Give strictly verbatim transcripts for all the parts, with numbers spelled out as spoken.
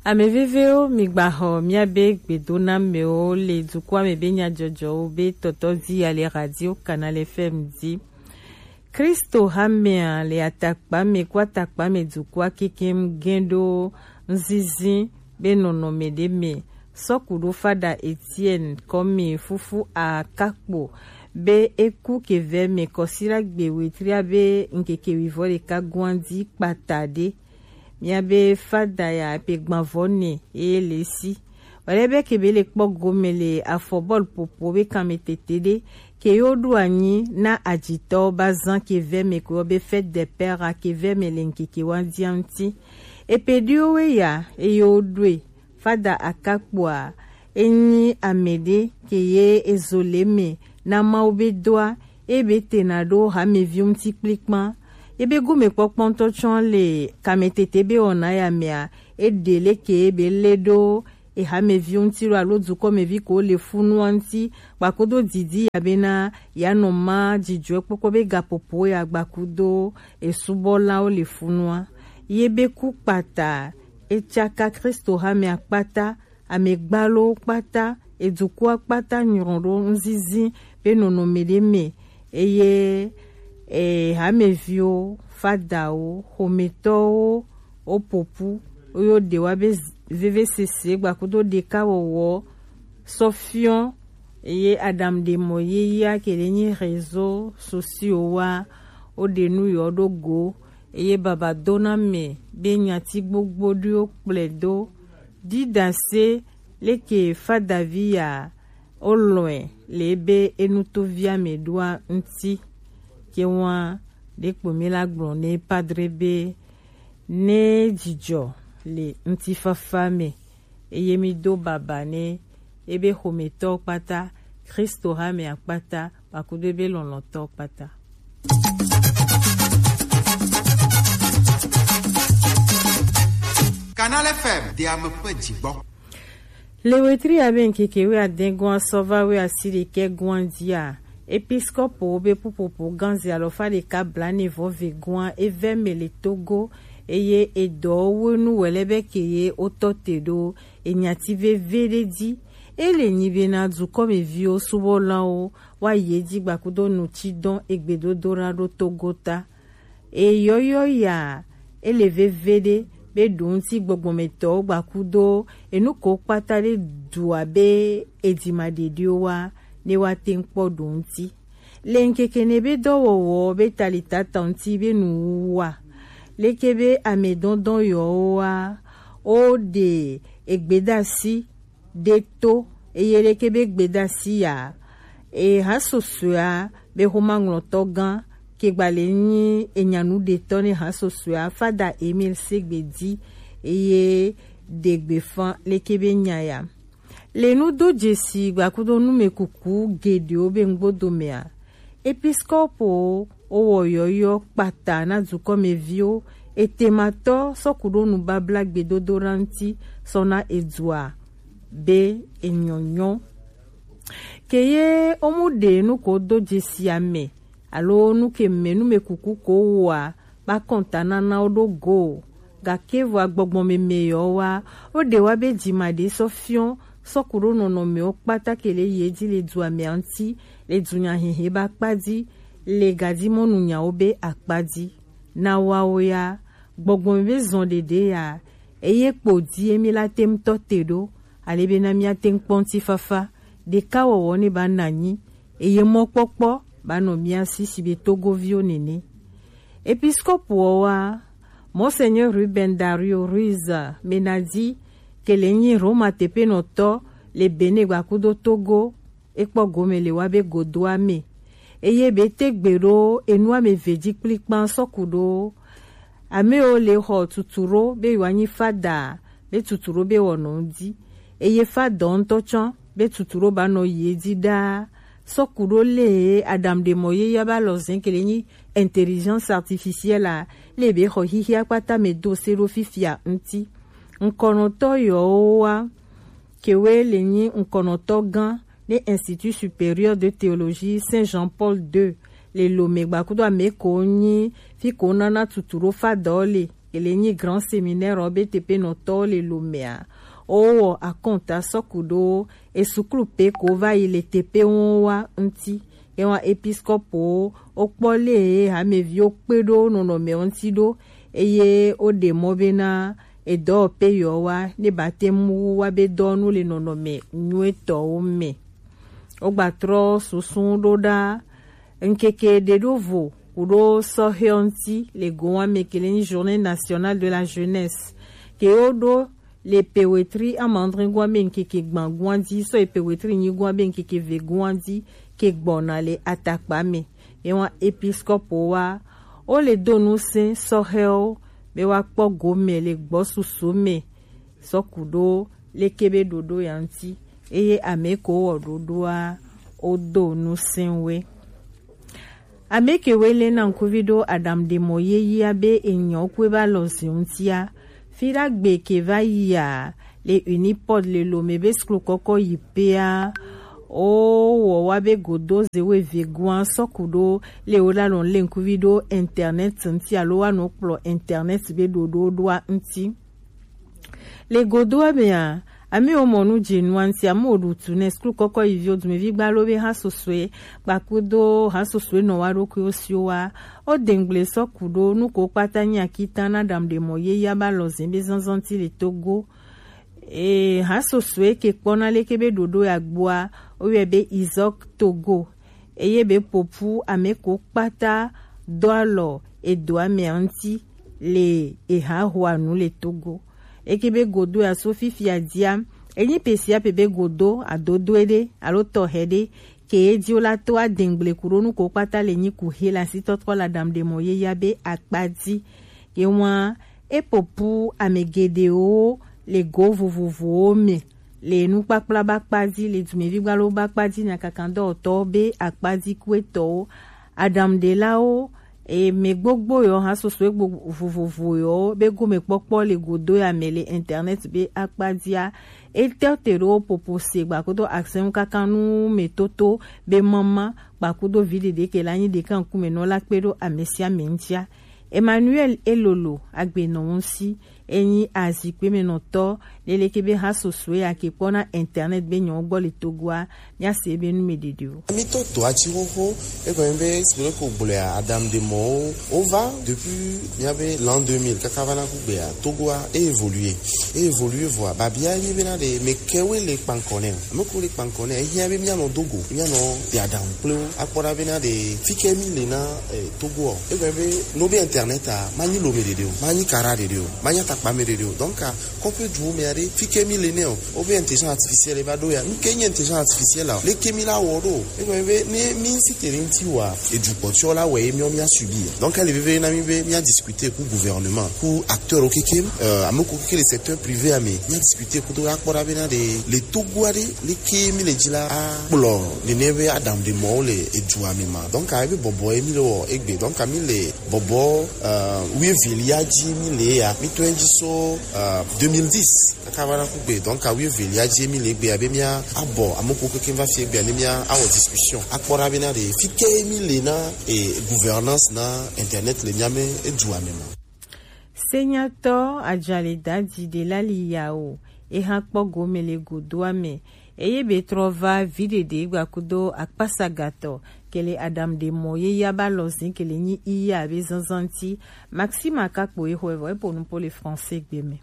Ame vevewo, migbaxɔ miabe gbedonamewo le dukɔa me be nyajɔjɔwo be tɔtɔ dzi ya le Radio Canal F M dzi. Kristo hamea le atakpa me ku atakpa me dukɔa kekem gɛn ɖo nzinzin be nɔnɔme ɖe me. Sɔku ɖo fada Etienne kɔmi fufu akakpo be eku kevɛ me kɔsila gbe wetria be ŋkeke wivɔ ɖeka guan dzi kpata ɖe. Miabe fada ya pe gbanvɔ ne eye le si. Wale be ke be le kpɔ gome le afɔ bɔl popo be kanme tete ɖe ke yo ɖo anyi na ajitɔ ba zan ke vɛ me ko be fête des pères a ke vɛ me le ŋkeke wa dia ŋuti. Epe ɖiwo we ya eye wo ɖoe. Fada akakpoa enyi ame ɖe ke ye ezo le me na Mawu be doa ebe tena ɖo hameviwo ŋuti kplikpan. Ebe gomekpɔkpɔ ŋutɔ tsɔ le kametete be wɔna ya mea, eɖe leke ebe le ɖo ehameviwo ŋuti ɖo alo dukɔmevi ko le funua ŋuti, gbakudo didi ya bena ya nɔ ma dzidzɔe kpɔkpɔ be gapopo ya gbakudo esubɔlawo le funua. Ye be ku kpata, etsaka Kristo hamea kpata, amegbalowo kpata, edukɔa kpata nyrɔ ɖo ŋzizi be nɔnɔme ɖe me, eye e, hameviwo, fadawo, xometɔwo, wo popu, wo yo ɖe wa be z-, vevesese gbakudo ɖekawɔwɔ sɔ fiɔ, eye Adam ɖe mɔ yeyea ke le nyi réseaux sociaux wa, wo ɖe nu yɔ ɖo go, eye baba dona me be nyati gbogbo ɖiwo kplɔe do. Didase leke fadavi ya olɔe le ebe enutovia me ɖoa ŋti. Ke wa ɖe kpo mi la gblɔ ne padre be ne dzidzɔ le ŋutifafa me, eye mi do baba ne ebe xometɔ kpata, Kristo hamea kpata, kpakudo ebe lɔlɔ̃tɔ kpata. Canal F M, de ame ƒe dzigbɔ. Le wetri ya be ŋkeke wuiade gɔ̃a sɔ va wuiasiɖekɛ gɔ̃a dzia, episkopowo be ƒuƒoƒo gã ze alɔfa ɖeka blaene vɔ ve gɔ̃a eve me le Togo, eye edɔwo nu wɛlɛ be ke ye wotɔ te ɖo enyati veve ɖe dzi. Ele nyi bena dukɔmeviwo subɔlawo wa ye dzi gbakudo nutsi dɔn egbedodoɖa ɖo Togo ta. Eyɔyɔ ya ele veve ɖe be ɖo ŋuti gbɔgbɔmetɔwo gbakudo enu ko kpata ɖe dua be edzima ɖeɖiwo wa ne wa te ŋkpɔ ɖo ŋuti. Le ŋkeke ne be dɔwɔwɔ be talitata ŋuti be nuwuwua, leke be ame dɔndɔn yɔwo wa, wo ɖe egbedasi ɖe to, eye leke be gbedasi ya, e, hasosoea be xomaŋlɔtɔ gã ke gba le nyi enyanu ɖetɔ ne hasosoea, fada Emile Segbe di, eye ɖe gbefa leke be nya ya. Le nudo dzesi gbakudo numekuku geɖewo be ŋgbodo mea, episkopowo wowɔ yɔyɔ kpata na dukɔmeviwo, etematɔ sɔkuɖo nubabla gbedodoɖa ŋuti sɔ na edua be enyɔnyɔ. Ke ye womu ɖe nu ko do dzesi ame, alo nu ke me numekuku ko wɔa, ba kɔntananawo ɖo go o. Gake vɔa gbɔgbɔmeme yɔ wa, wo ɖe wa be dzima ɖe sɔ fiɔ, sɔkuɖo nɔnɔmewo kpata ke le ye dzi le dua mea ŋuti, le dunyahehe ba kpa dzi, le gadimɔnu nyawo be akpa dzi. Na wawo ya, gbɔgbɔmeme zɔn ɖeɖe ya, eye kpo di emi la te ŋutɔ te ɖo, ale be na mia te ŋkpɔ ŋutifafa, ɖekawɔwɔ ne ba na anyi, eye mɔkpɔkpɔ ba nɔ mia si si be Togoviwo nene. Episkopowo wa, Monseigneur Ruben Dario Ruiz Menadi, ke le nyi Roma teƒenɔtɔ le Benin gbakudo Togo, ekpɔ gome le wa be godoa me. Eye be te gbe ɖo enua me ve dzi kplikpan sɔkuɖo. Amewo le xɔ tutu ɖo be yewoanyi fada, be tutu ɖo be wɔnɔ ŋdi. Eye fadɔ ŋutɔ tsɔ be tutu ɖo ba nɔ yi edzi ɖaa. Sɔkuɖo le Adam ɖe mɔ ye ya ba lɔ zɛn ke le nyi intelligence artificielle a, le be xɔ xixia kpata me do se ɖo fifia ŋti. Ŋkɔnɔtɔ yɔwo wa, kewe le nyi ŋkɔnɔtɔ gã ne Institut Supérieur de Théologie Saint Jean-Paul deux le Lomé gbakudo ame ko nyi fi ko nana tutu ɖo fadɔ le. ke le nyi Grand Séminaire ɔ be teƒenɔtɔwo le Lomea, wowɔ akɔnta sɔku ɖo esuklu pe ko va yi le teƒe wo wa ŋuti. Ye wa episkɔpowo wokpɔ le hameviwo kpe ɖo nɔnɔme ŋuti ɖo, eye woɖe mɔ bena edɔwɔƒe yewoa ne ba te ŋu wa be dɔwɔnu le nɔnɔme nyuitɔwo me. Wogbatrɔ susu ɖo ɖa ŋkeke ɖe ɖo vo kuɖo sɔhɛ ŋuti le gowa me ke le nyi Journée Nationale de la Jeunesse ke wo ɖo le pewetri amadre gowa be ŋkeke gban gowa di sɔ yi pewetri nyi gowa be ŋkeke ve gowa di ke gbɔna le atakpa me. Ye wa episkɔpo wa wo le do nu se sɔhɛwo be wa kpɔ gome le gbɔ susu me sɔku ɖo leke be ɖoɖo ya ŋuti, eye ame ko wɔ ɖoɖoa wo do nu se we. Ame ke we le na ŋkuvi ɖo aɖaŋuɖemɔ yeyea be enyɔ kue va lɔ zi ŋutia, fi ɖagbe ke va yia le Unipod le Lome be suklu kɔkɔ yi pea, wo wɔ wa be godo ze we ve goa sɔku ɖo le wo la lɔn le ŋkuvi ɖo internet ŋuti alo wa nɔ kplɔ internet be ɖoɖo ɖoa ŋuti. Le godoa mea, ame wo mɔ nu dze nua ŋuti, ame wo ɖu tu ne suklu kɔkɔ yi viwo dumevi gbalo be ha sosoe kpakudo ha sosoe nɔ wa ɖokuiwo siwo wa. Wo dengble sɔku ɖo nu ko kpata nyi akita na ɖaŋuɖemɔ yeyea ba lɔ zi be zanzan ŋuti le Togo. E, ha sosoe ke kpɔna leke be ɖoɖo ya gbɔa, wo yɔe be Izok Togo. Eye be popu ame ko kpata do alɔ edoa mea ŋuti le eha hoa nu le Togo. Eke be godo ya so fifia dia, enyi pe sia pe be godo adodo ɖe alo tɔhe ɖe ke ye di wo la to adengble ku ɖo nu ko kpata le nyi ku he la si tɔtrɔ la ɖaŋuɖemɔ yeyea be akpa di. Ye wa e popu ame geɖewo le go vovovowo me le nukpakpla ba kpa di, le dumevi gbalo ba kpa di, nyakakandɔwɔtɔwo be akpa di kuetɔwo, aɖaŋuɖelawo, e, me gbogbo yɔ ha soso egbo vovovo yɔ be gomekpɔkpɔ le godo ya me le internet be akpa dia. Etɔ te ɖo popo se gbakudo asɛnu kaka nu me toto be mama gbakudo vi ɖeɖe ke la nyi ɖeka ŋkume nɔ la kpe ɖo ame sia ame ŋutia. Emmanuel Elolo agbenɔ ŋusi enyi azikpe me nɔtɔ leleke be ha sosoe ake kpɔ na internet be nyɔ gbɔ le Togoa, mia se be nu me ɖeɖe o. Mi to to ati xoxo, e gɔme be sibere ko gblɔa aɖaŋuɖemɔwo wo va depuis mia be l'an deux mille kaka va na ku gbea Togoa e évolué, e évolué vɔa babia ye be na ɖe me kewe le kpankɔ ne o. Ame ko le kpankɔ ne, ehiã be mia nɔ dogo, mia nɔ ɖe aɖaŋu kple wo. Akpɔ ɖa be na ɖe fike mi le na, eh, Togo o. Egbe be no be internet a, ma nyi lome ɖeɖe o, ma nyi kara ɖeɖe o, ma nyi atakpa me ɖeɖe o. Donc, a, kɔƒe duwo me aɖe, fike mi le ne o. Wo be intelligence artificielle va ɖo ya. Nu ke nyi intelligence artificielle a? Leke mi la wɔ ɖo? Egbe be ne mi si te ɖe ŋuti wa, edu kpɔtɔ la wɔ ye miɔ mia subir. Donc, ele veve na mi be mia discuter ku gouvernement, ku acteur wo kekem, euh, ame ko ke le secteur privé a me, mia discuter ku to akpɔ ɖa be na ɖe le Togo aɖe leke mi le dzi la akplɔ nene be aɖaŋuɖemɔwo le edua me ma. Donc, ebe bɔbɔ ye mi le wɔ egbe. Donc, mi le bɔbɔ, euh, wuievelia dzi mi le ya. Mi tɔe dzi so, euh, deux mille dix kaka va na ku gbe. Donc, wuievelia dzi mi le egbe abe mia abɔ ame ko keke va fi egbe ne mia awɔ discussion. Akpɔ ɖa be na ɖe fike mi le na, e, gouvernance na internet le mia me edua me ma. Senyatɔ Ajaleda Dide la li ya o, eha kpɔ gome le godoa me, eye be trɔ va vi ɖeɖe gbakudo akpasagatɔ, kele aɖaŋuɖemɔ ye ya ba lɔ zin kele nyi iya be zanzan ti. Maxima Kakpo ye xɔe vɔ, epo nupo le français gbe me.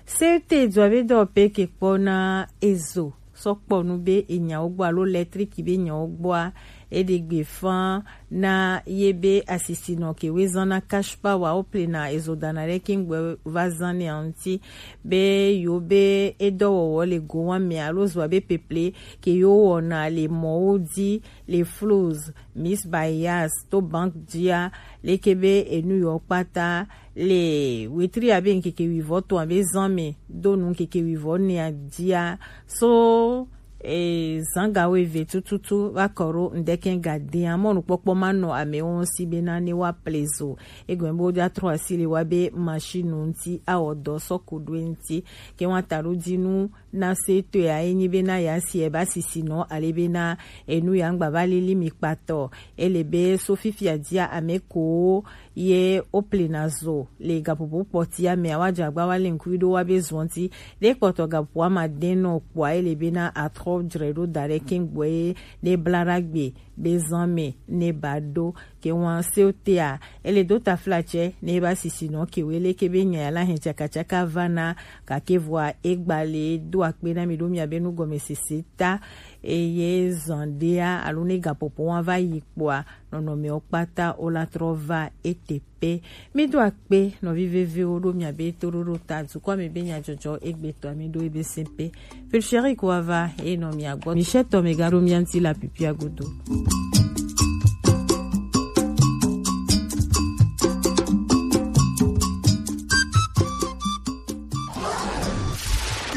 C T dua be dɔ pe ke kpɔ na ezo sɔ kpɔ nu be enyawo gbɔ alo lɛtriki be nyawo gbɔa, eɖe gbe fan na ye be asisinɔ ke woezan na cash power wo plena ezo dana ɖe kingbe va zan ne ŋuti be yewo be edɔwɔwɔ le gowa me alo zoa be peple ke yewo wɔna le mɔwo di le flows, mis bayas to bank dia, leke be enu yewo kpata le wetri abe ŋkeke wivɔ tɔn abe zan me do nu ŋkeke wivɔ nea dia so E zanga weve tututu va kɔ ɖo ŋdɛkɛn ga dɛn a mɔnukpɔkpɔ ma nɔ amewo ŋsi bena ne wa plezo. Egɔme bo ja trɔ asi le wa be machine ŋti awɔ dɔ sɔ ku ɖo ŋti. Ke wa ta ɖo dinu na se to ya enyi bena ya si e ba sisi nɔ ale bena enu ya ŋgba va lili mi kpatɔ. Ele be so fifia dia ame ko ye o plena zo le gapopo kpɔtia mɛ awa jagba wa le ŋkui ɖo wa be zɔnti ɖe kpɔtɔ gapopo ama den nɔ kpɔa ele bena atrɔ jrɛ ɖo da ɖe kɛn gbɔ ye ne bla ɖa gbe be zan mɛ ne ba ɖo ke wan se o tea ele do tafla tsɛ ne ba sisi nɔ ke wele ke be nya ya la hɛn tsakatsaka va na kake vɔa egba le do akpe na mi ɖo mia be nu gɔme sese ta eye zan ɖea alo ne gapopo wa va yi kpɔa nɔnɔmewo kpata wo la trɔ va ete pe. Mi do akpe nɔvi veviwo ɖo mia be toɖoɖo ta dukɔa me be nyadzɔdzɔ egbetɔ mi ɖo ebe se pe. Pulcheri ko ava eye nɔ mia gbɔ. Michel tɔ me ga ɖo mia ŋti la pipia godo.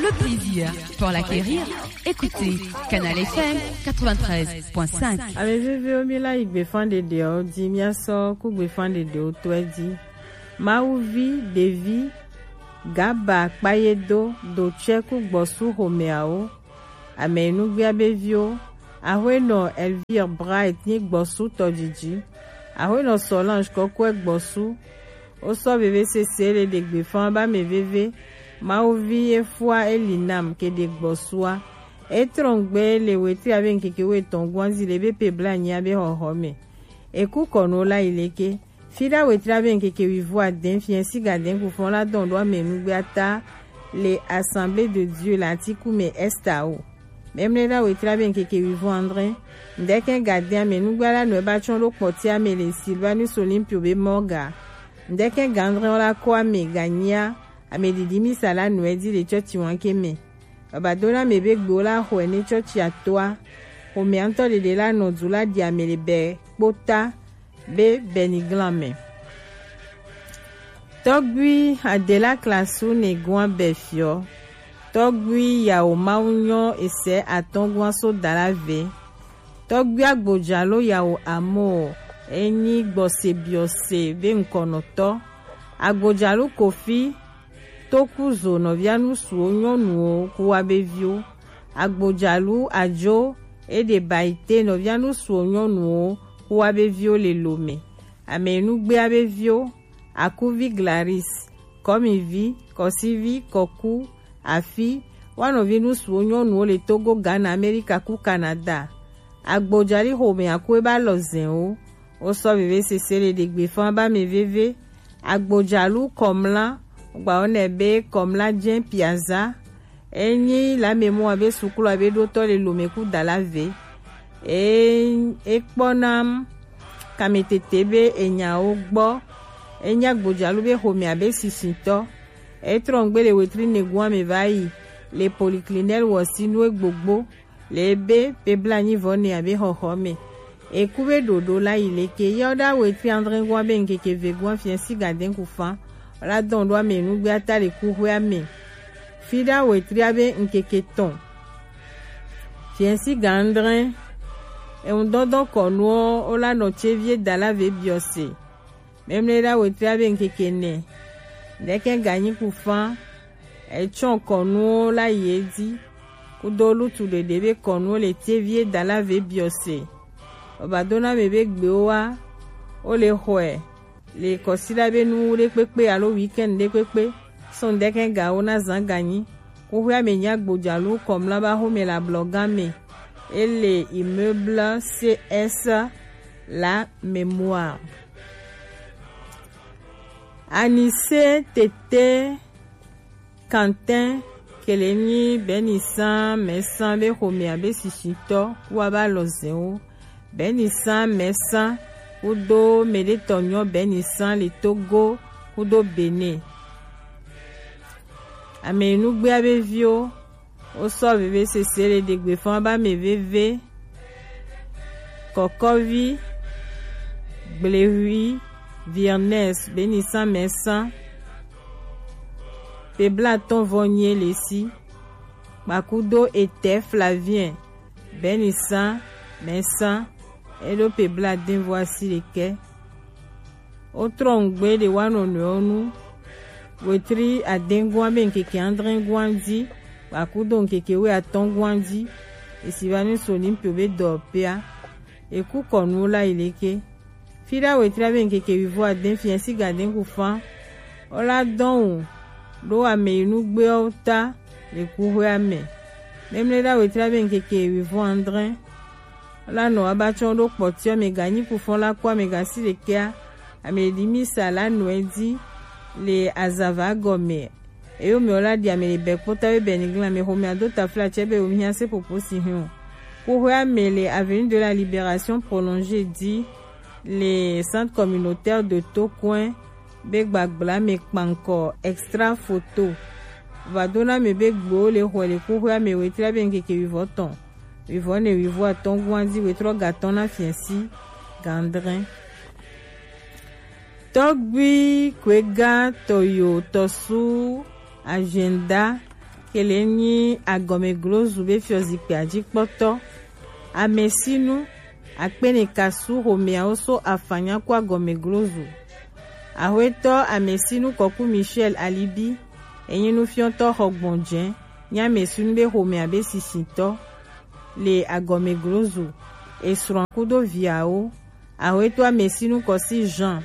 Le plaisir pour l'acquérir. Écoutez Canal F M quatre-vingt-treize point cinq. Ame veviwo mi la yi gbefan ɖeɖewo di mia sɔ ku gbefan ɖeɖewo tɔe di. Mawuvi, ɖevi, gaba kpayedo, dotsɛ ku gbɔsu xomeawo. Ame nugbea be viwo. Axwenɔ Elvire Bright nyi gbɔsu tɔdidi. Axwenɔ Solange kɔkɔe gbɔsu. Wo sɔ veve sese le ɖe gbefan ba me veve. Mawuvi efua eli nam ke ɖe gbɔsua. Etrɔn gbe le wetri abe ŋkeke wo etɔn guanzi le be pe bla nyia be xɔxɔ me. Eku kɔnu la yi leke. Fiɖa wetri abe ŋkeke wivo adɛn fiɛ si gadɛn kufɔn la dɔn ɖo ame nugbe ata le Assemblée de Dieu le Atiku me Esta o. Mɛmlɛ ɖa wetri abe ŋkeke wivo andre. Ŋdɛkɛ gadɛn ame nugbe la nɔ eba tsɔn ɖo kpɔti ame le Silvanus Olympio be mɔga. Ŋdɛkɛ ga andre la kɔ ame ganyia ame ɖiɖi misa la nɔ edi le tsɔtsi wanke me. Baba dona me be gbewo la xɔe ne tsɔtsi atoa. Xɔmea ŋutɔ ɖeɖe la nɔ du la ɖi ame le bɛ kpota be bɛniglan me. Tɔgbui Adela Klasu ne gua bɛ fiɔ. Tɔgbui yawo mawu nyɔ esɛ atɔngua so dala ve. Tɔgbui agbojalo yawo amo enyi gbɔse biɔse be ŋkɔnɔtɔ. Agbojalo Kofi Tokuzo nɔvia nusuwo nyɔnuwo kuwa be viwo. Agbojalu Ajo Edebaite nɔvia nusuwo nyɔnuwo kuwa be viwo le lome. Ame nugbea be viwo, Akuvi Glaris, Kɔmivi, Kɔsivi, Kɔku, Afi, wa nɔvi nusuwo nyɔnuwo le Togo, Ghana, Amerika ku Canada. Agbojali xome aku eba lɔ zɛnwo. Wo sɔ veve sese le ɖegbe fan ba me veve. Agbojalu Kɔmla, gba wo nɛ be Kɔmla jɛn Piazza. Enyi la me mɔ abe sukulu abe ɖotɔ le lome ku dala ve. E, e kpɔ nam kametete be enyawo gbɔ. Enyi agbojalu be xome abe sisitɔ. E trɔ ŋgbe le wetri negun ame va yi le poliklinɛl wɔsinu egbogbo. Le ebe pe blanyi vɔ ne abe xɔxɔ me. Eku be ɖoɖo la yi leke yɔ ɖa wetri andre gua be ŋkeke ve gua fiɛ si gadɛn ku fan. La dɔn ɖo ame nugbe ata le ku hwe ame. Fi ɖa wetri abe ŋkeke tɔn. Fiɛ si ga andre. Eŋu dɔdɔn kɔnuɔ o la nɔ tse vie dala ve biɔ se. Mɛmlɛ ɖa wetri abe ŋkeke nɛ. Ɖɛkɛ ganyi ku fan. Etsɔ kɔnuwo la yi edzi. Kudo lutu ɖeɖe be kɔnuwo le tevie dala ve biɔ se. Ɔba dona me be gbewo wa. Wo le xɔe. Le kɔsiɖa be nu ɖe kpekpe alo weekend ɖe kpekpe. Sɔn ɖɛkɛ gawo na zan ganyi. Kuxia me nya gbodzalu kɔmla ba xome le ablɔga me. Ele immeuble C S la mémoire. Anise tete Quentin kele nyi Benisan mɛsan be xomea be sisitɔ wa ba lɔzɛnwo. Benisan mɛsan kudo meɖetɔ nyɔ Benisan le Togo kudo Benin. Ame nugbea be viwo Wo sɔ veve sese le ɖegbe fan ba me veve. Kɔkɔvi, Gblehwi, Virnes, Benisan mɛsan. Pe blatɔn vɔ nyie le si. kpakudo etɛ Flavien, bɛnisan mɛsan, eɖo pe bla dɛn vo asi ɖekɛ. Wo trɔ nugbe ɖe wa nɔnɔewo nu. Wetri adɛn gwan be nkeke adre gwan ji, kpakudo nkeke we atɔn gwan ji. Esi va ni so ni pe be dɔ pea. Eku kɔnu la yi leke. Fiɖa wetri abe nkeke wivo adɛn fiɛsi gadɛn ku fan. Wo la dɔn o ɖo ameyinugbewo ta le kuxwea me. Mɛmlɛɖa wetri abe nkeke wivo adre. Wo la nɔ abatsɔ ɖo kpɔtiɔ me ganyi ku fɔn la kɔ ame gasi ɖekɛa. Ame ɖi mi sa la nɔe di le azava gɔme. Eyo mɛ wo la ɖi ame le bɛ kpota be bɛ ni glan me xo mɛ ado tafla tsɛ be wo mi hia se popo si hin o. Kuxwea me le avenue de la Libération prolongée di le centre communautaire de Tokoin be gbagbla me kpankɔ extra photo. Vadona me be gbewo le xɔe le kuxwea me wetri abe nkeke wivɔ tɔn, wivɔ ne wivɔ atɔn gwan di wetrɔ gatɔn na fiɛsi gandrin. Tɔgbi Kwega Tɔyo Tɔsu Agenda kele nyi agɔmeglozu be fiɔzikpea ji kpɔtɔ. Amesinu akpene kasu xomeawo so afanya ku agɔmeglozu. Axwetɔ Amesinu Kɔku Michel Alibi enyi nufiɔtɔ xɔgbɔnjɛ nyi Amesinu be xomea be sisitɔ le agɔmeglozu. Esrɔ̃ kudo viawo. Axwetɔ Amesinu Kɔsi Jean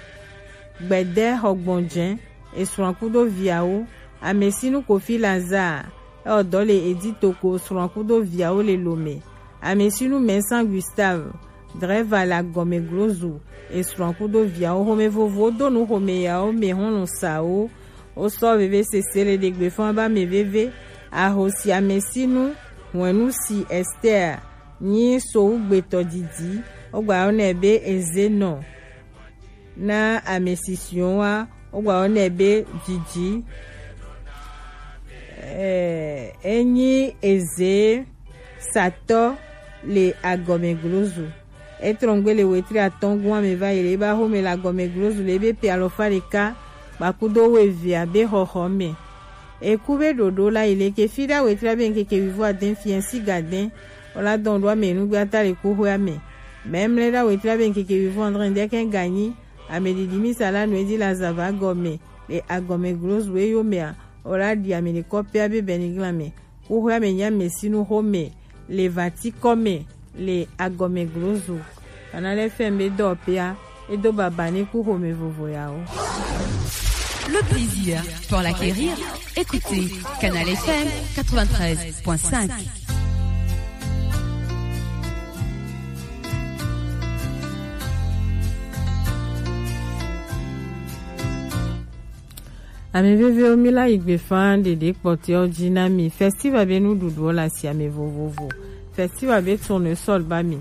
Gbɛdɛ Xɔgbɔnjɛ, esrɔ̃ kudo viawo. Amesinu Kofi Lazare, eɔ dɔ le Editoko, srɔ̃ kudo viawo le Lome. Amesinu Mɛnsan Gustave, drɛva le agɔmeglozu, esrɔ̃ kudo viawo. Xome vovowo do nu xome yawo me xɔlɔ sawo. Wo sɔ veve sese le ɖegbe fɔn ba me veve. Ahosi Amesinu, hwenu si Esther nyi sowugbetɔ didi, wogba yɔ nɛ be Ezenɔ. Na ame sisiwo wa, wogba yɔ nɛ be Didi. Eh, enyi eze satɔ le agɔmeglozu. Etrɔngbe le wetri atɔn gwan me va yi le eba xome le agɔmeglozu le ebe pe alɔfa ɖeka kpakudo weve abe xɔxɔ me. Eku be ɖoɖo la yi leke fiɖa wetri abe nkeke wivo adɛn fiɛsi gadɛn. Wo la dɔn ɖo ame nugbe ata le kuxwea me. Mɛmlɛɖa wetri abe nkeke wivo adre ɖekɛ ganyi. Ame ɖiɖi mi sa la nu edi la zava gɔme le agɔmeglozu eyo mea. Wo la ɖi ame ɖekɔ pɛ abe bɛniglan me. Kuxwea me nyi Amesinu xome le vati kɔ me le agɔmeglozu. Kanal F M be dɔ pea, edo baba ne ku xome vovo yawo. Le plaisir pour l'acquérir, écoutez Canal F M quatre-vingt-treize point cinq. Ame vevewo, mi la yi gbefa ɖeɖe kpɔtɔewo ji na mi. Festival be nuɖuɖuwo le asi ame vovovo. Festival be tournesol ba mi.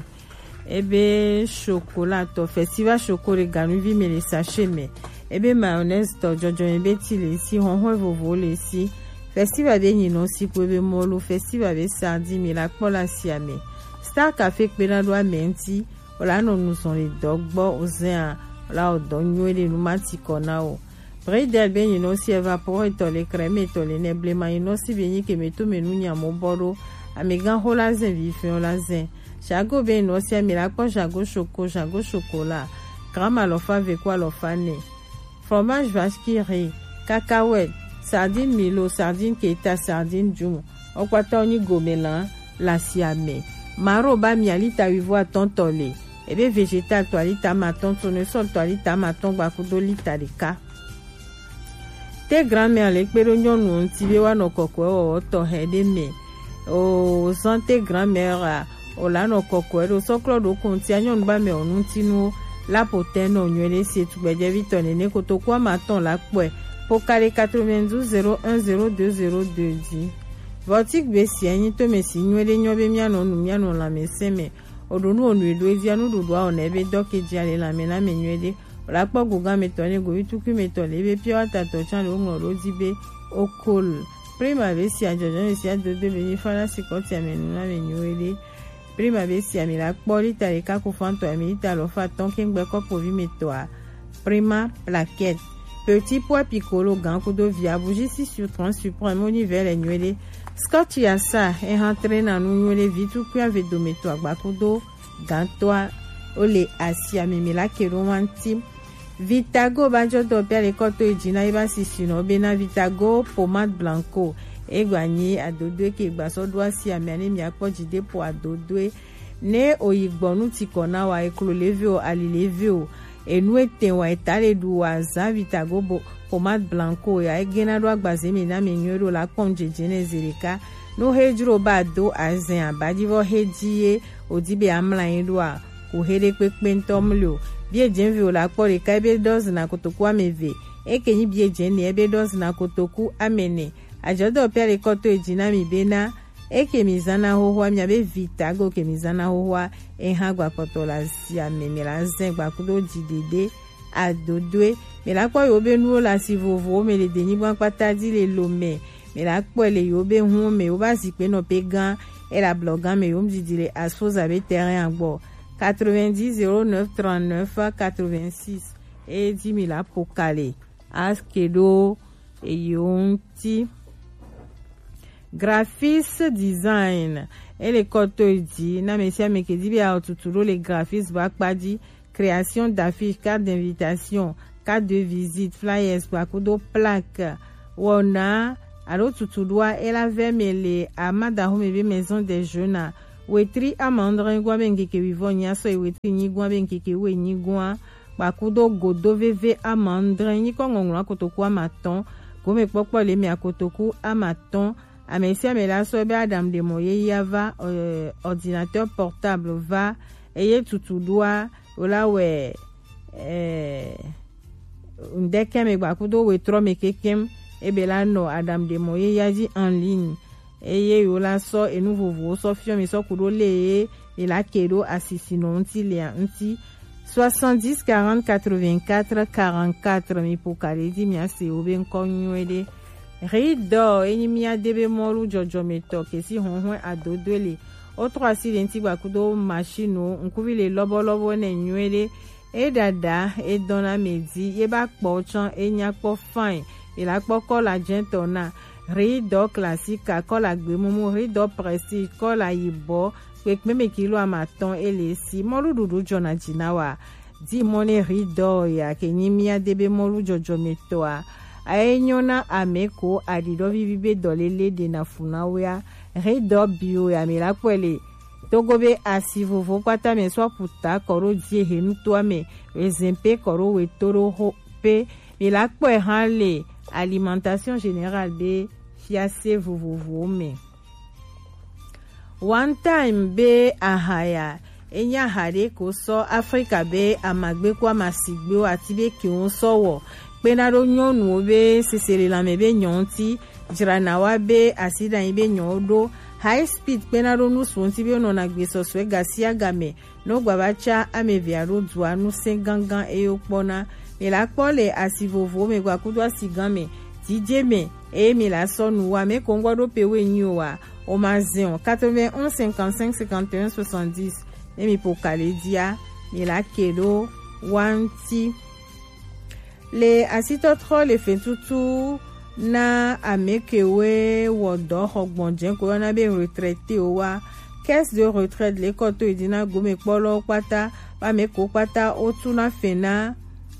Ebe chocolat tɔ, festival choco le ganuvi me le sachet me. Ebe mayonnaise tɔ, jɔjɔme be ti le si, hɔhɔe vovowo le si. Festival be nyinɔ si kpo ebe mɔlu, festival be sardine mi la kpɔ le asi ame. Star Café kpena ɖo ame ŋuti. Wo la nɔ nu zɔn le dɔ gbɔ, wo zɛn a, wo la wɔ dɔ nyuie ɖe nu ma ti kɔ na wo. Bredel be nyinɔ si, evapor etɔ le, crème etɔ le, nɛ blema nyinɔ si be nyi ke me to me nu nya mo bɔ ɖo. Amegã xo la zɛn, vi fɛn la zɛn. Jago be nyinɔ si, ami la kpɔ jago choco, jago chocolat. Gramme alɔfa ve ku alɔfa nɛ. Fromage vache qui rit, cacahuète, sardine Milo, sardine Keta, sardine Jumbo. Wo kpata wo nyi gomela le asi ame. Maro ba mi alita wivo atɔn tɔ le. Ebe végétal tɔ alita amatɔn, tournesol tɔ alita amatɔn gba kudo lita ɖeka. Te grand-mère le kpe ɖo nyɔnu ŋuti be woanɔ kɔkɔe wɔwɔ tɔxɛ ɖe me. O zan te grand-mère a, o la nɔ kɔkɔe ɖo sɔklɔ ɖo kontia nyɔnu ba mɛ o ŋutinuwo la po tɛ nɔ nyuie ɖe sie tugbɛjɛvi tɔ nene kotoku amatɔn la kpɔe. Po ka ɖe quatre-vingt-douze zéro un zéro deux zéro deux dzi. Vɔti gbe sia nyi to me si nyuie ɖe nyɔ be mianɔ nu mianɔ lãmesẽ me. Oɖo nu onu eɖo edzia nuɖuɖua o nɛ be dɔ ke dzia le lãme na me nyuie ɖe. O la kpɔ gogan me tɔ ne govi tukui me tɔ le be pure water tɔ tsã le woŋlɔ ɖo dzi be okol. Prima be sia jɔjɔ me sia dodo be nyi fana si kɔtia me nu na me nyuie ɖe. Prima be sia mi la kpɔ lita ɖeka ku fan tɔ mi lita alɔfa atɔn kengbe kɔpovi me tɔa. Prima plaquette. Petit pois piccolo gan kudo via bougie six sur trente suprême wo nyi vɛ le nyuie ɖe. Scotch Yasa, ehan trena nu nyuie ɖe vi tukui ave dometɔ agbakudo gantɔa, ole asia mimi la ke ɖo wanti. Vitago ba jɔ dɔ bia le kɔto eji na eba sisi nɔ be na Vitago pomade blanco. Egba nyi adodoe ke gba sɔ ɖo asia mia ne mia kpɔ ji de po adodoe. Ne oyi gbɔ nu ti kɔ na wa, eklo leve o, ali leve o, enu ete wa, eta le ɖu wa, zan Vitago bo pomade blanco ya, egena ɖo agbaze mi na mi nyuie ɖo la kpɔn jeje ne zi ɖeka. Nu he jro ba do azɛn abadivɔ he ji ye odi be amla yin ɖo a, ko he ɖe kpekpe ŋtɔ mli o. Bie jenvi o la kpɔ ɖeka ebe ɖɔ zina kotoku ameve, eke nyi bie jene ebe ɖɔ zina kotoku amene. Ajɔdɔ pia le kɔto eji na mi be na eke mi zana hohoa, mia be Vitago ke mi zana hohoa, ehan gba kpɔtɔ la zi ame mi la zɛn gba kudo ji dede adodoe. Mi la kpɔ yo be nuwo la si vovo mi le de nyigba kpata di le lo me. Mi la kpɔ le yo be hun me wo ba zi pe nɔ pe gan e la blɔ gan me yo mi didi le asfoza be terrain agbɔ. Quatre-vingt-dix zéro neuf trente-neuf quatre-vingt-six. E di mi la pokale aske ɖo eyo ŋti. Graphis design, ele kɔto edi na mesi ame ke di be aotutu ɖo le graphis ba kpa di, création d'affiche, carte d'invitation, carte de visite, flyers, kpakudo plaque. Wɔna alo tutuɖoa ela vɛ me le amadaho me be maison des jeunes a. Wetri amandre gwa be ŋkeke wivɔ nyi asɔ yi wetri nyi gwa be ŋkeke we nyi gwa. Kpakudo godo veve amandre nyikɔ ŋɔŋlɔ akotoku amatɔn. Gome kpɔkpɔ le mi akotoku amatɔn. Ame sia ame la sɔ be aɖaŋuɖemɔ yeyea va, euh, ordinateur portable va, eye tutuɖoa wo la wɛ, euh, ŋdɛkɛ me gba kudo wetrɔ me kekem, ebe la nɔ aɖaŋuɖemɔ yeyea dzi en ligne, eye yo la sɔ enu vovowo sɔ fiɔ mi sɔ ku ɖo le ye mi la ke ɖo asisinɔ ŋti lea ŋti. Soixante-dix quarante quatre-vingt-quatre quarante-quatre, mi po ka ɖe di mi ase wo be ŋkɔ nyuie ɖe. Ridɔ enyi mia de be mɔlu jɔjɔmetɔ ke si hɔnhɔn adodoe le. Wo trɔ asi le ŋti gba kudo machine ŋkuvi le lɔbɔlɔbɔ ne nyuie ɖe. E ɖaɖa e dɔn na me di ye ba kpɔ tsɔ e nya kpɔ fine. E la kpɔ kɔla jɛntɔ na. Ridɔ classique, kɔla gbemumu, ridɔ prestige, kɔla yibɔ, kpekpe me kilo amatɔn ele si. Mɔluɖuɖu jɔna ji na wa. Di mɔ ne ridɔ ya ke nyi mia de be mɔlu jɔjɔmetɔa. Aye nyɔ na ame ko aɖiɖɔ vivi be dɔlele ɖe na fu na wea. Ridɔ bio ya mi la kpɔe le. Togo be asi vovo kpata me sɔ puta kɔ ɖo die he nutoa me, wezɛn pe kɔ ɖo weto ɖo ho pe. Mi la kpɔe hã le alimentation générale be fiase vovovowo me. One time be aha ya, enye aha ɖe ko sɔ Afrika be amagbe ku amasigbewo ati be kewo sɔ wɔ. Kpena ɖo nyɔnuwo be seselelãme be nyɔ ŋti, jrana wa be asiɖanyi be nyɔwo ɖo. High speed kpena ɖo nusu ŋti be nɔna gbesɔsɔe gasiagame. No gbava tsa ame evea ɖo dua nu sɛn gangan eye wokpɔna. Mi la kpɔ le asi vovowo me gba kudo asi gan me. Didie me eye mi la sɔ nu wa me ko ŋgɔ ɖo pe we nyi o wa. O ma zɛn o. Quatre-vingt-onze cinquante-cinq cinquante et un soixante-dix. Ne mi po ka le dia, mi la ke ɖo wa ŋti. Le asitɔtrɔ le fɛntutu na ame kewo wɔ dɔ xɔ gbɔnjɛ ko yɔna be retraité wo wa. Caisse de retraite le kɔ to yi di na gome kpɔlɔ kpata, ba ame ko kpata o tu na fɛn na,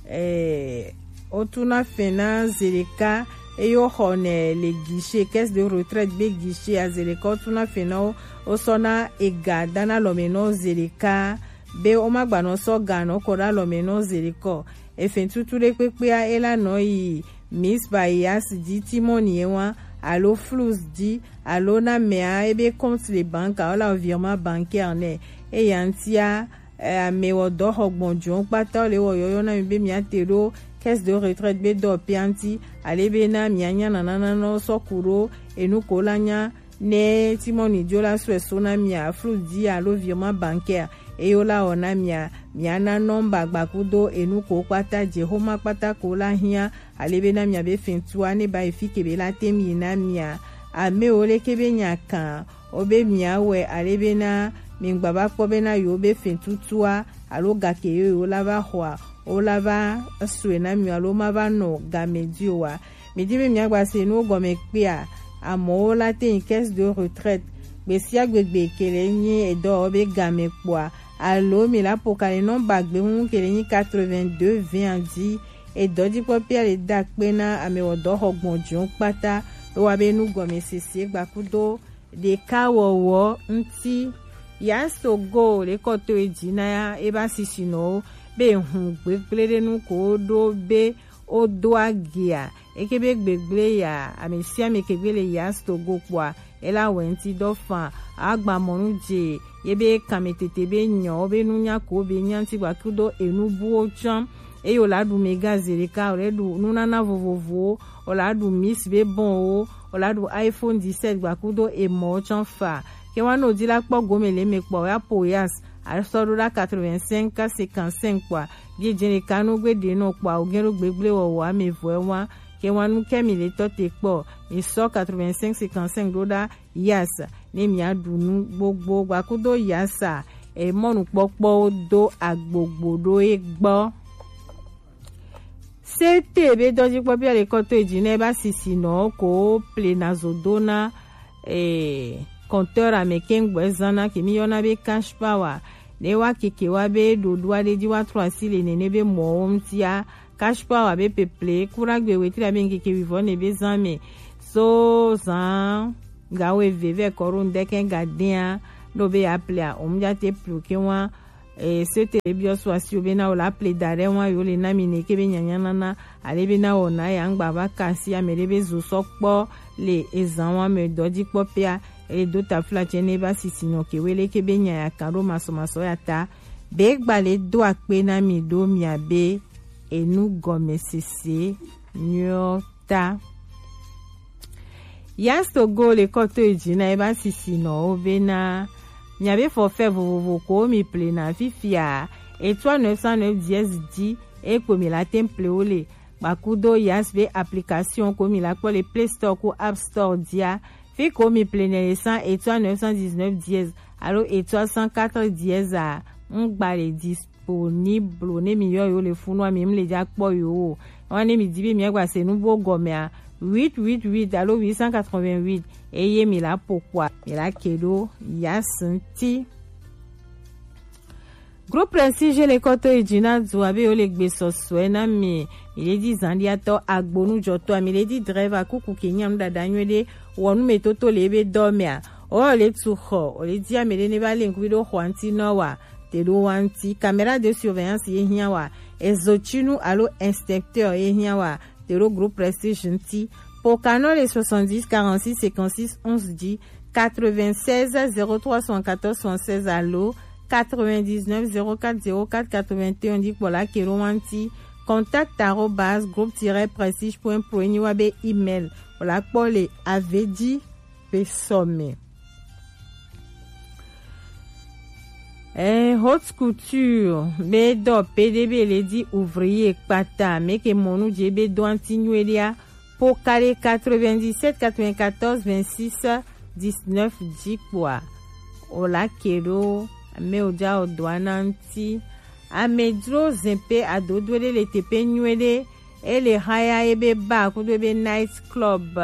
eh, o tu na fɛn na zeɖeka eye wo xɔ nɛ le guichet, caisse de retraite be guichet a zeɖeka o tu na fɛn na wo, o sɔ na ega da na lɔme na wo zeɖeka be wo ma gba nɔ sɔ ga nɔ kɔ ɖe alɔme na wo zeɖeka o. Efɛntutu ɖe kpekpea e la nɔ yi Miss Bayas di ti mɔ ni e wa alo Flux di alo na mɛa ebe compte de banque a o la virement bancaire nɛ. Eya ŋtia, eh, ame wɔ dɔ xɔ gbɔn jɔn kpata wo le wɔ yɔyɔ na mi be mia te ɖo caisse de retraite be dɔ pia ŋti ale be na mia nya nana na nɔ sɔ ku ɖo enu ko la nya Ne Timoni dzo la sɔe so na mia, Flux di alo virement bancaire, eye wo la wɔ na mia, mia na nɔmba gbakudo enu ko kpata, jexoma kpata ko la hiã, ale be na mia be fɛntua ne ba yi fi ke be la te mi na mia. Ame wo leke be nya kan, o be mia wɛ, ale be na mi gba ba kpɔ be na yo be fɛntutua, alo gake yo yo la va xɔa, wo la va sɔe na mi alo ma va nɔ game di o wa. Mi di be mia gba se nu gɔme kpea, amɔwo la te nyi caisse de retraite. Gbe sia gbe gbe ke le nyi edɔ be game kpɔa, alo mi la po ka le nɔmba gbemu ke le nyi quatre-vingt-deux vingt dzi. Edɔjikpɔkpɔa le da kpe na amewɔdɔ xɔ gbɔn dziwo kpata, be wa be nu gɔme sese gbakudo ɖeka wɔwɔ ŋuti. Yasogo le kɔ to edzi na ya eba sisinɔwo be hun gbegble ɖe nu ko ɖo be wodo agia. Eke be gbegble ya, ame sia ame ke gbe le Yasogo kpɔa, ela wɛ ŋuti dɔ fan, agba mɔnu dze, ye be kame tete be nyɔ, be nunya ko be nya ŋuti gba kudo enu buwo tsã. Eye wòla ɖu mega zeɖeka, wòla ɖu nunana vovovowo, wòla ɖu mis be bɔnwo, wòla ɖu iPhone dix-sept gba kudo emɔwo tsã fa. Ke wa no di la kpɔ gome le me kpɔ ya po yas, asɔ ɖo ɖa quatre-vingt-cinq cinquante-cinq kpɔa, bie dze ɖeka no gbe ɖe nɔ kpɔa, o gen ɖo gbegble wɔwɔ ame vɔe wa. Ke wa nu ke mi le tɔ te kpɔ, mi sɔ quatre-vingt-cinq cinquante-cinq ɖo ɖa yas, ne mia ɖu nu gbogbo gba kudo yasa, e mɔnukpɔkpɔwo do agbogbo ɖo e gbɔ. C T be dɔjikpɔkpɔ le kɔ to edzi ne ba sisi nɔ ko ple na zo do na, eh, compteur ame kengbe zana ke mi yɔna be cash power. Ne wa keke wa be ɖoɖo aɖe dzi wa trɔ asi le nene be mɔwo ŋutia, cash power be peple kura gbe wetri abe ŋkeke wivɔ ne be zan me. So zan ga wo eve vɛ kɔ ɖo ŋdɛkɛ ga dea, ɖo be ya plea, o mu ja te plu ke wa, eh, so te biɔ so asi o be na o la ple da ɖe wa yo le na mi ne ke be nyanya nana, ale be na o na ya ŋgba va kasi ame ɖe be zo sɔ kpɔ le ezan wa me dɔ dzi kpɔ pea, e do ta fla tse ne ba sisi nɔ ke wele ke be nya ya kan ɖo masɔmasɔ ya ta. Be gba le do akpe na mi ɖo mia be enu gɔme sese nyɔ ta. Yastogo le kɔ to edzi na eba sisi nɔ wo be na mia be forfait vovovo ko mi ple na fifia, etoile neuf cent neuf dièse dix e kpo mi la tem ple wo le. Gbakudo Yas be application ko mi la kpɔ le Play Store ko App Store dia. Fi ko mi ple ne le san etoile neuf cent dix-neuf dièse alo etoile cent quatre dièse a, ŋgba le disponible ne mi yɔ yo le funu a mi ŋle ja kpɔ yo o. Wa ne mi di be mi gba se nu bo gɔme a, huit huit huit alo huit cent quatre-vingt-huit, eye mi la po kpɔa, mi la ke ɖo Yas ŋti. Groupe Prestige le kɔ to yi dzi na du abe wo le gbe sɔsɔe na mi. Mi le di zandiatɔ, agbonujɔtɔ, mi le di driver kuku ke nya nu dada nyuie ɖe, wɔnu me toto le ebe dɔ mea. O le tu xɔ, o le di ame ɖe ne va le ŋku ɖo xɔa ŋti nɔ wa, te ɖo wa ŋti. Caméra de surveillance ye hiã wa, ezotsinu alo inspecteur ye hiã wa, te ɖo Groupe Prestige ŋti. Pokanɔ le soixante-dix quarante-six cinquante-six onze dix, quatre-vingt-seize zéro trois soixante-quatorze soixante-seize alo quatre-vingt-dix-neuf zéro quatre zéro quatre quatre-vingt-un dzi kpɔ la ke ɖo wa ŋti. Contact arobase groupe tiret prestige point pro enyi wa be email. O la kpɔ le avedzi be sɔme. Eh, haute couture be dɔ pe ɖe be le di ouvrier kpata me ke mɔnu dze be dɔ anti nyuie ɖea. Pokale quatre-vingt-dix-sept quatre-vingt-quatorze vingt-six dix-neuf dzi kpɔa, o la ke ɖo ame o ja o dɔ ana ŋti. Amedzro zin pe adodo ɖe le teƒe nyuie ɖe. Ele haya ebe bar kudo ebe night club.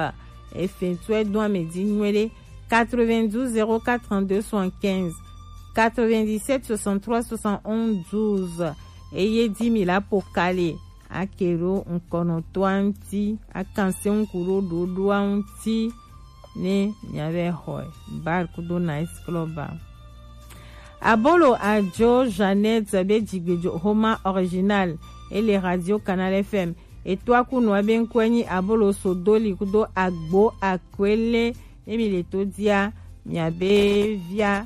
Efɛn tu edo ame dzi nyuie ɖe. Quatre-vingt-douze zéro quatre trente-deux soixante-quinze, quatre-vingt-dix-sept soixante-trois soixante-onze douze. Eye di mi la pokale. Ake ɖo ŋkɔnɔtɔa ŋti, akanse ŋku ɖo ɖoɖoa ŋti. Ne miavɛ xɔe, bar kudo night club a. Abolo Adjo Jeannette be dzigbedzo Homa Original, ele Radio Canal F M. Etoa kunua be ŋkɔe nyi Abolo Sodoli kudo Agbo Akwele. Ne mi le to dia, miabe via,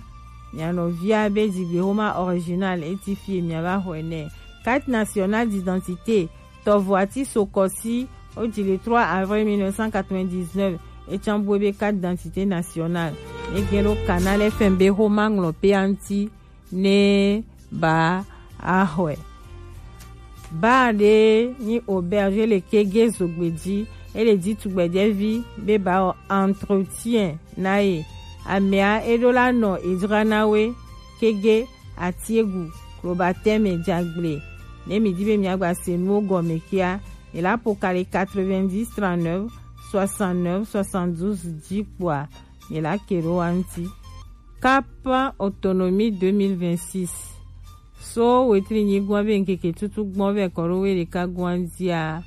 mianɔvia be dzigbe Homa Original eti fie miava xɔe nɛ. Carte nationale d'identité, tɔvo ati sokɔsi, o dzi le trois avril mille neuf cent quatre-vingt-dix-neuf, etsã bu ebe carte d'identité nationale. Ne gen ɖo Canal F M be Homa ŋlɔ pe anti ne ba axɔe. Bar ɖe nyi auberge le kege zogbe dzi, ele di tugbedzɛvi be ba wɔ entretien na ye. Amea eɖo la nɔ edzra na we kege atiegu klobatɛme dzagble. Ne mi di be miagba se nuwo gɔme kia, mi la pokale quatre-vingt-dix trente-neuf soixante-neuf, soixante-douze ji kpoa, mi la ke ɖo wa ŋuti. Cap Autonomie deux mille vingt-six. So wetri nyigba be ŋkeke tutu gbɔn vɛ kɔ ɖo we ɖeka gɔn dia.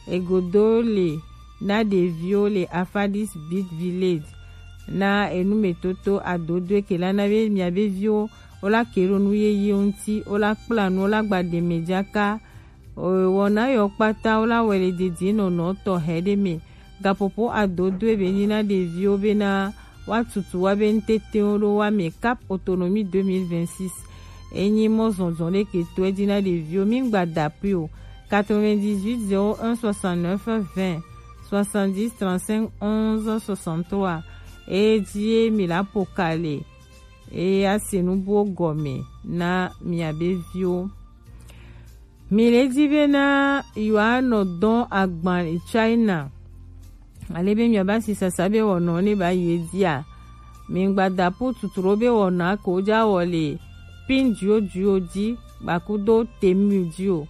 Egodo le na ɖeviwo le Afadis Big Village na enumetoto adodo ke la na be mia be viwo wo la ke ɖo nu yeye ŋuti, wo la kpla nu, wo la gba ɖe me jaka. Wɔna yɔ kpata wo la wɛ le didi nɔnɔ tɔ hɛ ɖe me. Gapopo adodo ebe nyi na ɖeviwo bena wa tutu wa be ŋtetewo ɖo wa me. Cap Autonomie deux mille vingt-six. Enyi mɔ zɔnzɔn ɖe ke to edzi na ɖeviwo. Mi gba da pui o. Quatre-vingt-dix-huit zéro un soixante-neuf vingt, soixante-dix trente-cinq onze soixante-trois. Edzi ye mi la po ka le. Eye ase nu buwo gɔme na mia be viwo. Mi le di bena yewoanɔ dɔn agban le China. Ale be miaba si sasa be wɔnɔ ne ba yi dia. Mi gba da pu tuturo be wɔnɔ ko ja wɔ le pin dio dio di gbakudo temu dio.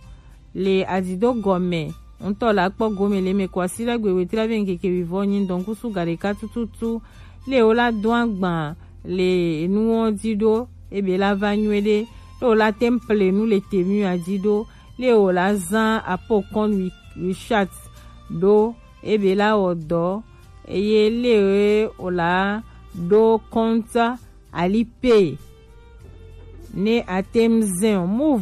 Le adido gɔme ŋutɔ la kpɔ gome le me ko asi la gbe wetri be ŋkeke wivɔ nyi dɔnkusu ga ɖeka tututu. Le wo la do agban le enuwo di ɖo ebe la va nyuie ɖe. Le wo la temple nu le temu adi ɖo. Le wo la zan apo kɔn wi- wishat ɖo ebe la wɔ dɔ eye le wo la ɖo kɔnta alipe ne atem zɛn o mu